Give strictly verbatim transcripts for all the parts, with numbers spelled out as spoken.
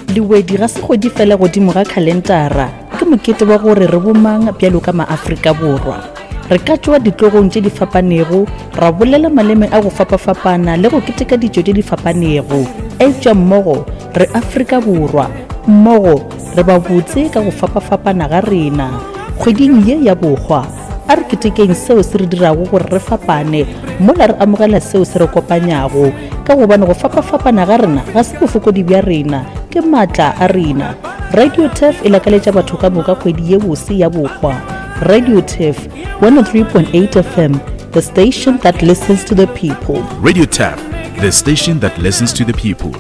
Lewedi ga se kgwedi fela godimo ga khalentara, ke mokete wa gore re bomang bjalo ka maAfrika Borwa. Re ka tšwa ditlogong tše di fapanego, ra bolela maleme a go fapafapana le go keteka ditšo tše di fapanego. Eupša mmogo re Afrika Borwa, mmogo re ba botse ka go fapafapana ga rena. Kgweding ye ya bohwa, a re ketekeng seo se re dirago gore re fapane, mola re amogela seo se re kopanyago, ka gobane go fapafapana ga rena ga se bofokodi bja rena, ke maatla a rena. Radio Turf e lakaletša batho ka moka kgwedi ye bose ya bohwa. Radio Turf, one oh three point eight F M, the station that listens to the people. Radio Turf, the station that listens to the people.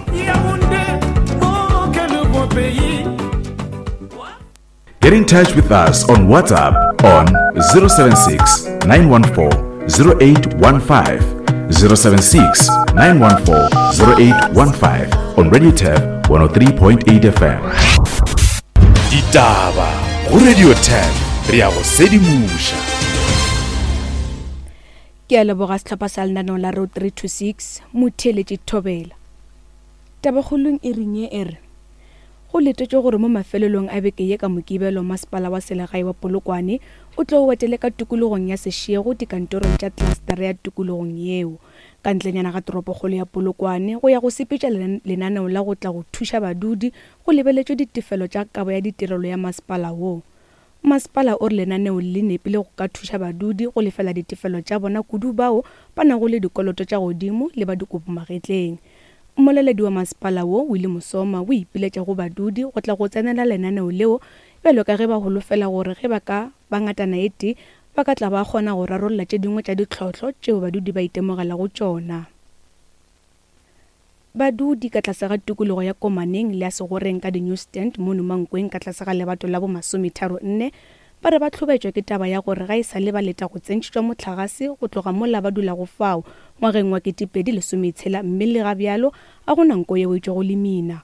Get in touch with us on WhatsApp on zero seven six, nine one four, zero eight one five, zero seven six, nine one four, zero eight one five on Radio Turf one oh three point eight F M. Ditaba go Radio Turf, re ya go sedimoša. Ke a leboga sehlopha sa lenaneo la Road three two six, motheeletši Thobela. Tabakgolong e reng ye e re, go letetšwe gore mo mafelelong a beke ye ka Mokibelo masepala wa selegae wa Polokwane o tlo wetele ka tikologong ya Seshego dikantorong tša klastere ya tikologong yeo. Ka ntlenyana ga toropokgolo ya Polokwane go ya go sepetša lenaneo la go tla go thuša badudi go lebeletšwe ditefelo tša kabo ya ditirelo ya masepala wo. Masepala o re lenaneo le nepile go ka thuša badudi go lefela ditefelo tša bona kudu bao ba nago le dikoloto tša godimo le ba dikobo magetleng. Mmoleledi wa masepala wo Willie Mosoma o ipiletša go badudi go tla go tsenela lenaneo leo bjalo ka ge ba holofela gore ge ba ka ba ngatana e tee ba ka tla ba kgona go rarolla tše dingwe tša ditlhohlo tšeo badudi ba itemogelago tšona. Badudi ka tlase ga tikologo ya Komaneng le ya Segoreng ka di-New Stand mono Mankweng ka tlase ga lebato la bomasometharo nne ba re ba tlhobetšwa ke taba ya gore ga e sa le ba leta go tsentšhitšwa mohlagase go tloga mola ba dulago fao ngwageng wa ketepedi lesometshela mme le ga bjalo a go na nko yeo e tšwago lemina.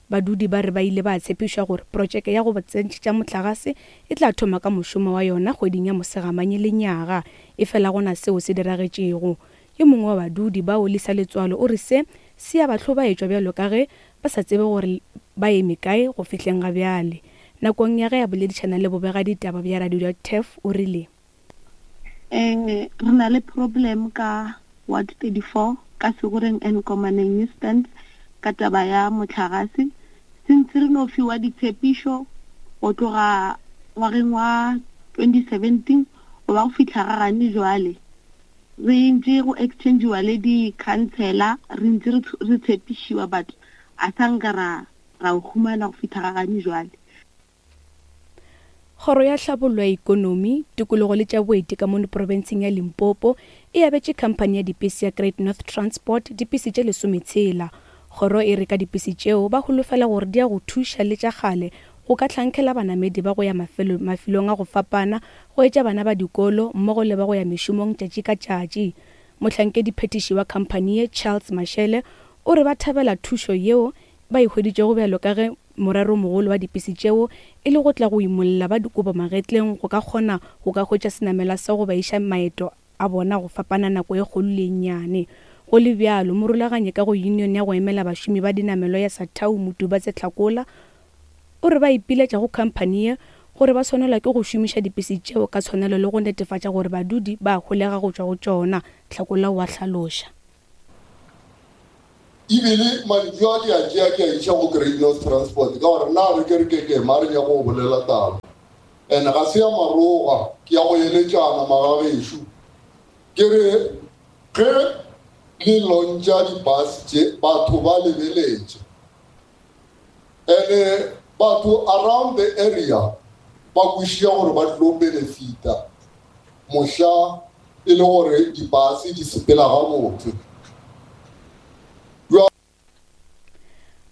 Badudi ba re ba ile ba tshepišwa gore projeke ya go ba tsentšhitša mohlagase e tla thoma ka mošomo wa yona kgweding ya Mosegamanye lenyaga, efela gona seo se diragetšego. Yo mongwe wa badudi bao Lisa Letswalo o re se se a ba hlobaetšwa bjalo ka ge ba sa tsebe gore ba eme kae go fihleng ga bjale. Nakong ya ge a boledišana le bobega ditaba bja Radio Turf o rile, Eh, re na le problem ka Ward thirty-four ka Segoreng and Komaneng New Stand ka taba ya mohlagase. Since re no fiwa ditshepišo go tloga ngwageng wa twenty seventeen go ba go fihla ga gane jwale, re ntse go exchange-iwa le di-councillor, re ntse re tshepišiwa but a sa nka ra ra o humana go fihla ga gane jwale. Kgoro ya Tlhabollo ya Ikonomi, Tikologo le tša Boeti ka mono profenseng ya Limpopo e abetše khamphani ya dipese ya Great North Transport dipese tše lesometshela. Kgoro e re ka dipese tšeo ba holofela gore di ya go thuša le tša kgale go ka hlankela banamedi ba go ya mafelo, mafelong a go fapana go etša bana ba dikolo mmogo le ba go ya mešomong tšatši ka tšatši. Mohlankedi phetiši wa khamphani ye Charles Mashele o re ba thabela thušo yeo ba e hweditšego bjalo ka ge morero mogolo wa dipese tšeo e le go tla go imolla ba dikobo magetleng go ka kgona go ka hwetša senamela sa go ba iša maeto a bona go fapana nako e kgolo le e nnyane. Go le bjalo, morulaganyi ka go union ya go emela bašomi ba dinamelo ya Satau Motubatse Tlhakola o re ba ipiletša go khamphani ye gore ba swanelwa ke go šomiša dipese tšeo ka tshwanelo le go netefatša gore badudi ba holega go tšwa go tšona. Tlhakola o a hlaloša. Ebile mantšu a ke a tšea ke a iša go Great North Transport ka gore nna re ke re ke ke ma re nyaka go bolela taba. And ga se ya maroga, ke ya go eletšana magagešo. Ke re ge le launcha di-bus tše batho ba lebeletše. And batho around the area ba kwešiša gore ba tlo benefita mohla e le gore di-bus di sepela gabotse.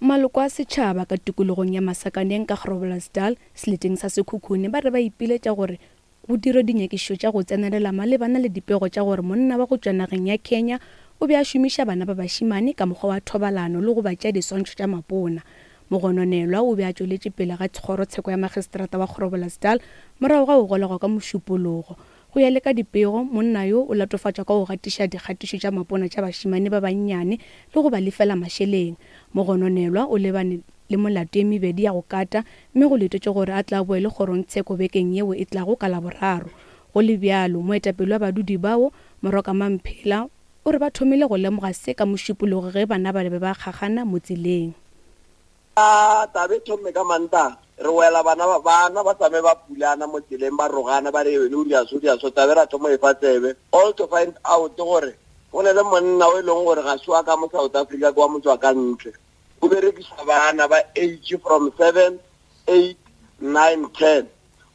Maloko a setšhaba ka tikologong ya Masakaneng ka Groblersdal seleteng sa Sekhukhune ba re ba ipiletša gore go dirwe dinyakišišo tša go tsenelela malebana le dipego tša gore monna wa go tšwa nageng ya Kenya o be a šomiša bana ba bašemane ka mokgwa wa thobalano le go ba tšea diswantšho tša mapona. Mogononelwa o be a tšweletše pele ga kgorotsheko ya magistrata wa Groblersdal morago ga go golegwa ka mošupologo. Go ya le ka dipego, monna yo o latofatšwa ka go gatiša dikgatišo tša mapona tša bašemane ba bannyane le go ba lefela mašeleng. Mogononelwa o lebane le molato ye mebedi ya go kata mme go letetšwe gore a tla boele kgorongtsheko bekeng yeo e tlago ka Laboraro. Go le bjalo, moetapele wa badudi bao, Moroka Mamphela, o re ba thomile go lemoga se ka Mošupologo ge bana ba be ba kgakgana mo tseleng. A taba e thomme ka Mantaga, re wela bana ba bana ba tsame ba pulana mo tseleng ba rogana ba re wene o dira so dira so tabe ra thoma e fa tsebe all to find out gore go ne le monna o e leng gore ga se wa ka mo South Africa ke wa motswa ka ntle o berekisa bana ba age from seven, eight, nine, ten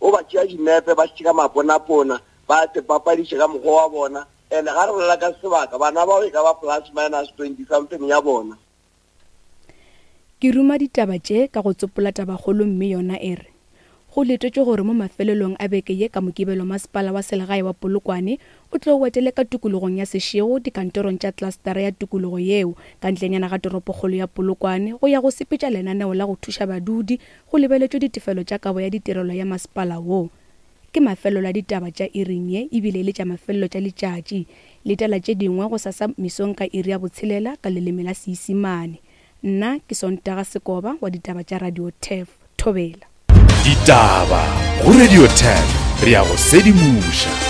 o ba tšea dinepe ba šika maponapona ba te papadiše ka mokgwa wa bona and ga re bolela ka sebaka bana bao e ka ba plus minus twenty something ya bona. Ke ruma ditaba tše ka go tsopola tabakgolo mme yona e re go letetšwe gore mo mafelelong a beke ye ka Mokibelo masepala wa selegae wa Polokwane o tlo wetele ka tikologong ya Seshego dikantorong tša klastara ya tikologo yeo ka ntlenyana ga toropokgolo ya Polokwane go ya go sepetša lenaneo la go thuša badudi go lebeletšwe ditefelo tša kabo ya ditirelo ya masepala wo. Ke mafelelo a ditaba tša iring ye ebile le tša mafelelo tša letšatši. Letela tše dingwe go sasa mesong ka iri ya botshelela ka leleme la Seisimane. Nna ke Sontaga Sekoba wa ditaba tša Radio Turf. Thobela. Ditaba go Radio Turf, re ya go sedimoša.